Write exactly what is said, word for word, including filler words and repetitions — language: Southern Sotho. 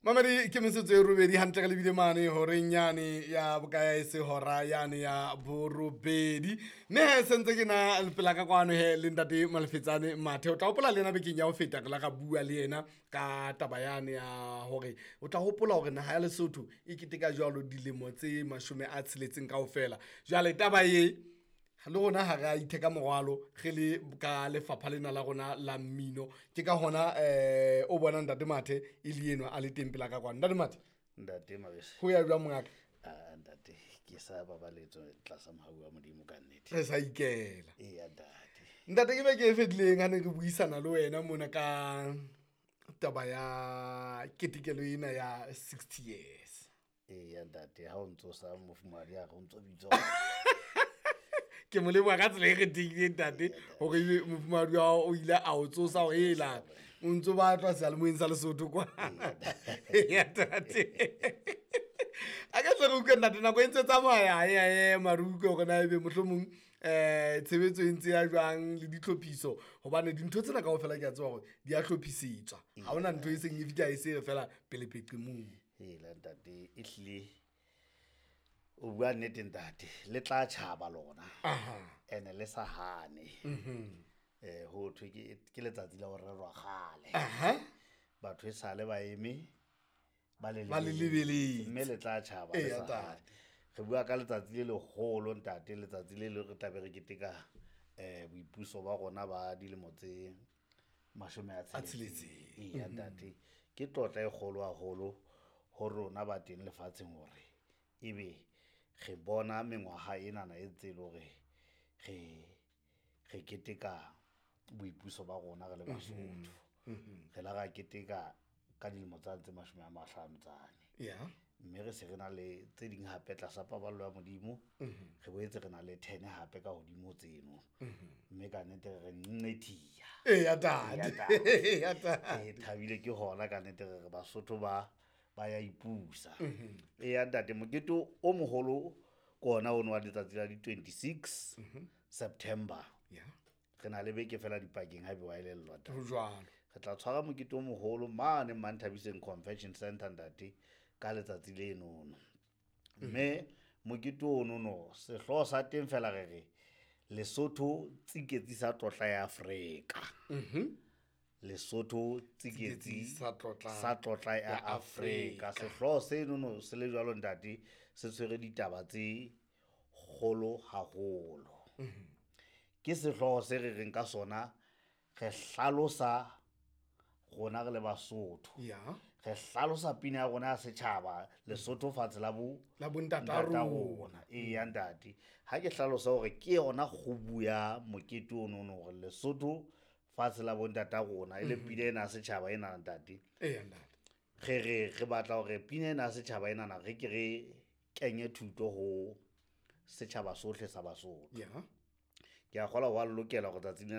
Mamedi, ke metsotso e robedi hantle re lebile mane horeng yane ya bokaya e se hora yane ya borobedi. Mme he sentse ke na pela ka kwano he le ntate Malefetsane Mathe. O tla hopola le yena bekeng ya ho feta re la ra bua le yena ka taba yane ya hore o tla hopola hore naha ya Lesotho e keteka jwalo dilemo tse mashome a tsheletseng kaofela. Jwale taba e le rona ha re a itheka morwalo re le ka lefapha lena la rona la mmino. Ke ka hona eh o bona ntate Mathe e le enwa a le teng pela ka kwano. Ntate Mathe, Ntate Mabese. ho ya jwang mongaka? Ah, ntate, ke sa babaletswe tlasa mohau wa Modimo ka nnete. Re sa ikela. Eya ntate. Ntate, ke beke e fetileng ha ne re buisana le wena mona ka taba ya ketekelo ena ya sixty years. Eya ntate, ha o ntso sa mofumahadi a re o ntso bitswa. Ke mo leboha ka tsela e kgethehileng ntate, hore ebe mofumahadi wa hao o ile a o tsosa hore hela o ntso batlwa seyalemoyeng sa Lesotho kwa. Eya ntate. A ke tle re utlwe ntate, nako e ntse tsamaya e a ema, re utlwe hore na ebe mohlomong eh tshebetso e ntse ya jwang le ditlhophiso, hobane dintho tsena kaofela ke a tseba hore di a hlophisetswa. Ha hona ntho e seng e fihla e se re fela pele peqemong. Hela ntate, ehlile o bua nnete ntate, le tla tjhaba lona. Aha. Ene le sa hane. Eh ho thwe ke ke letsatsi la ho rerwa kgale. Aha. Batho e sale ba eme ba le Ba le lebeletse. Mme le tla tjhaba le Eya, sa ntate. hane. Re bua ka letsatsi le leholo ntate, letsatsi le le re tlabe re keteka eh boipuso ba rona ba dilemo tse mashome a A tsheletseng. tsheletseng. Eya ntate, ke tlotla e kgolo haholo ho rona ba teng lefatsheng hore ebe re bona mengwaha enana e ntse e le hore re re keteka boipuso ba rona re le Basotho. Re la ra keteka ka dilemo tsane tse mashome a mahlano tsane. Ya. Mme re se re na le tse ding hape tlasa paballo ya Modimo. Re boetse re na le ten hape ka hodimo tseno. Mme ka nnete re re nqethiya. Eya ntate. Eya ntate. Eya ntate. Re thabile ke hona ka nnete re re Basotho ba ba ya ipusa. Eya ntate, mokete o moholo ke ona ono wa letsatsi la di twenty-six September. Ya. Re na le beke fela dipakeng ha ebe wa elellwa ntate. Ho jwalo. Re tla tshwara mokete o moholo mane Manthabiseng Convention Center ntate ka letsatsi lenono. Mme mokete onono sehlooho sa teng fela re re Lesotho tsiketsi sa tlotla ya Afrika. Lesotho tsiketsi sa tlotla sa tlotla ya ya Afrika. Afrika. Sehlooho senono se le jwalo ntate, se tshwere ditaba tse kgolo haholo. Ke sehlooho se re reng ka sona re hlalosa rona re le Basotho. Ya. Re hlalosa pina ya rona ya setjhaba Lesotho fatshe la bo La bo ntata ntata rona. rona. Eya ntate, ha ke hlalosa hore ke yona kgubu ya mokete ono hore Lesotho fatshe la bo ntata rona e le pina ena ya setjhaba ena ntate. Eya ntate. Re re re batla hore pina ena ya setjhaba enana re ke re kenye thuto ho setjhaba sohle sa Basotho. Ya. Ke a kgolwa ho a lokela hore tsatsing lena